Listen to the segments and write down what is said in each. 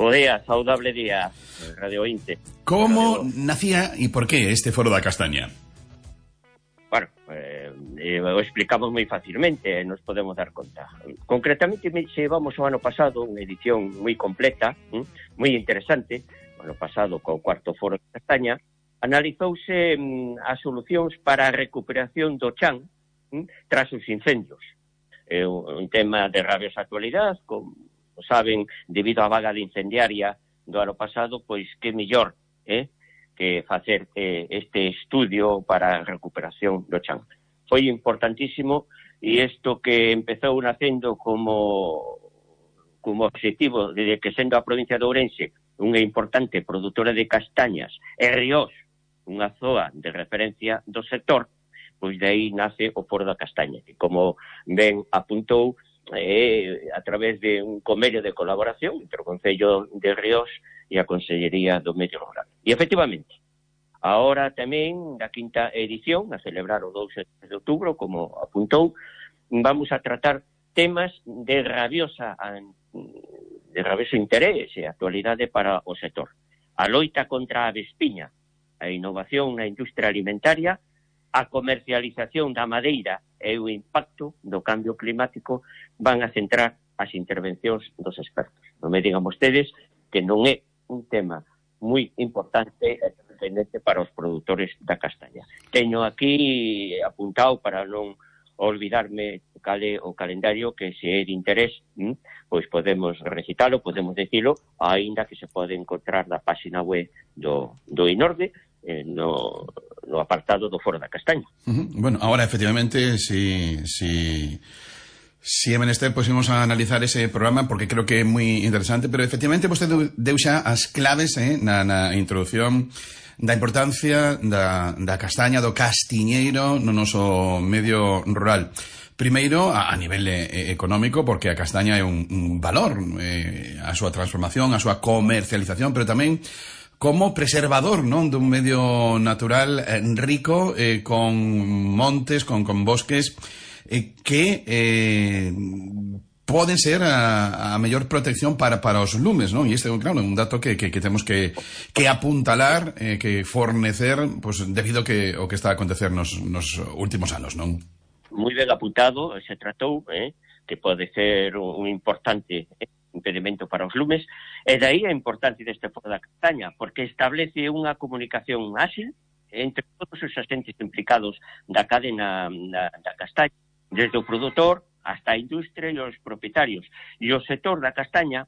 Bo día, saudable día, Radio Ointe. Como nacía e por que este Foro da Castaña? Bueno, o explicamos moi facilmente, nos podemos dar conta. Concretamente, llevamos o ano pasado unha edición moi completa, moi interesante. O ano pasado, co cuarto Foro da Castaña, analizouse as solucións para a recuperación do chan tras os incendios. É un tema de rabiosa actualidade, como saben, debido á vaga de incendiaria do ano pasado, pois que mellor que facer este estudio para a recuperación do chan. Foi importantísimo e isto que empezou nacendo como objetivo de que sendo a provincia de Ourense unha importante produtora de castañas e Ríos, unha zoa de referencia do sector, pois de aí nace o Foro da Castaña, que como ben apuntou, a través de un convenio de colaboración entre o Concello de Ríos e a Consellería do Medio Rural. E, efectivamente, agora tamén, da quinta edición, a celebrar o 2 de outubro, como apuntou, vamos a tratar temas de rabioso interés e actualidade para o sector. A loita contra a avespiña, a innovación na industria alimentaria, a comercialización da madeira e o impacto do cambio climático van a centrar as intervencións dos expertos. Non me digan vostedes que non é un tema moi importante e trascendente para os produtores da castaña. Teño aquí apuntado para non olvidarme cal é o calendario que se é de interés, pois podemos recitalo, podemos decilo, aínda que se pode encontrar na página web do INORDE, no apartado do Foro da Castaña. Bueno, ahora efectivamente si é menester, pois imos a analizar ese programa porque creo que é moi interesante, pero efectivamente vostede deu xa as claves na introducción da importancia da castaña, do castiñeiro no noso medio rural. Primeiro, a nivel económico, porque a castaña é un valor, a súa transformación, a súa comercialización, pero tamén como preservador, non, dun medio natural rico, con montes, con bosques, que poden ser a mellor protección para os lumes, non? E este, claro, é un dato que temos que apuntalar, que fornecer, pues, debido ao que está a acontecer nos últimos anos, non? Moi ben apuntado, se tratou, que pode ser un importante impedimento para os lumes, e dai a importancia deste Foro da Castaña, porque establece unha comunicación áxil entre todos os agentes implicados da cadena da castaña, desde o produtor hasta a industria e os propietarios. E o sector da castaña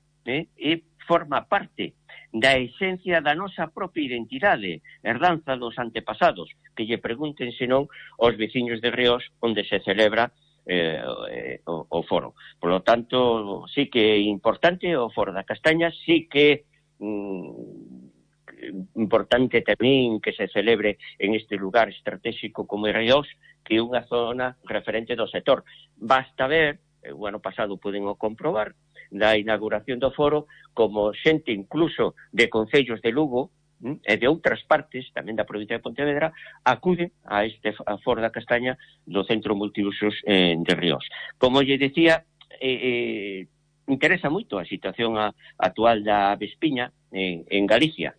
forma parte da esencia da nosa propia identidade, herdanza dos antepasados, que lle pregunten senón aos veciños de Ríos onde se celebra o foro. Por lo tanto, sí que é importante o Foro da Castaña, sí que importante tamén que se celebre en este lugar estratégico como é Ríos, que é unha zona referente do sector. Basta ver, o ano pasado poden o comprobar, da inauguración do foro, como xente incluso de concellos de Lugo e de outras partes, tamén da provincia de Pontevedra, acuden a este Foro da Castaña do Centro Multiusos de Ríos. Como lle decía, interesa moito a situación actual da avespiña en Galicia,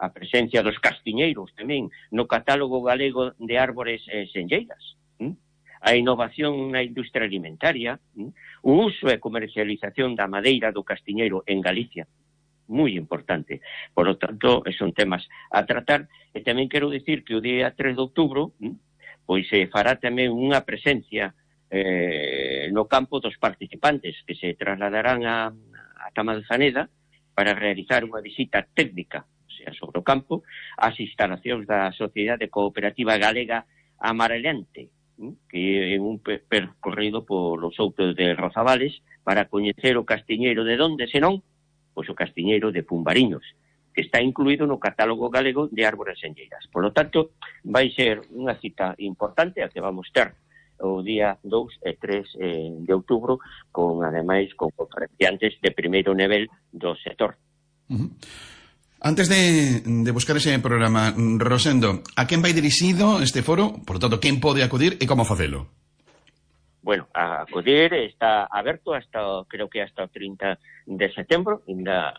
a presencia dos castiñeiros tamén no catálogo galego de árbores senlleiras, a innovación na industria alimentaria, o uso e comercialización da madeira do castiñeiro en Galicia, moi importante. Por lo tanto, son temas a tratar. E tamén quero dicir que o día 3 de outubro pois se fará tamén unha presencia no campo dos participantes que se trasladarán a Tamanzaneda para realizar unha visita técnica, o sea, sobre o campo, as instalacións da Sociedade Cooperativa Galega Amarelante, que é un percorrido polos outos de Rozavales para coñecer o castiñeiro de onde, senón, pois o castiñeiro de Pumbariños, que está incluído no catálogo galego de árbores senlleiras. Por lo tanto, vai ser unha cita importante a que vamos ter o día 2 e 3 de outubro, ademais, con conferenciantes de primeiro nivel do sector. Antes de buscar ese programa, Rosendo, a quen vai dirixido este foro? Por lo tanto, quen pode acudir e como facelo? Bueno, a acudir está aberto creo que hasta o 30 de setembro, ainda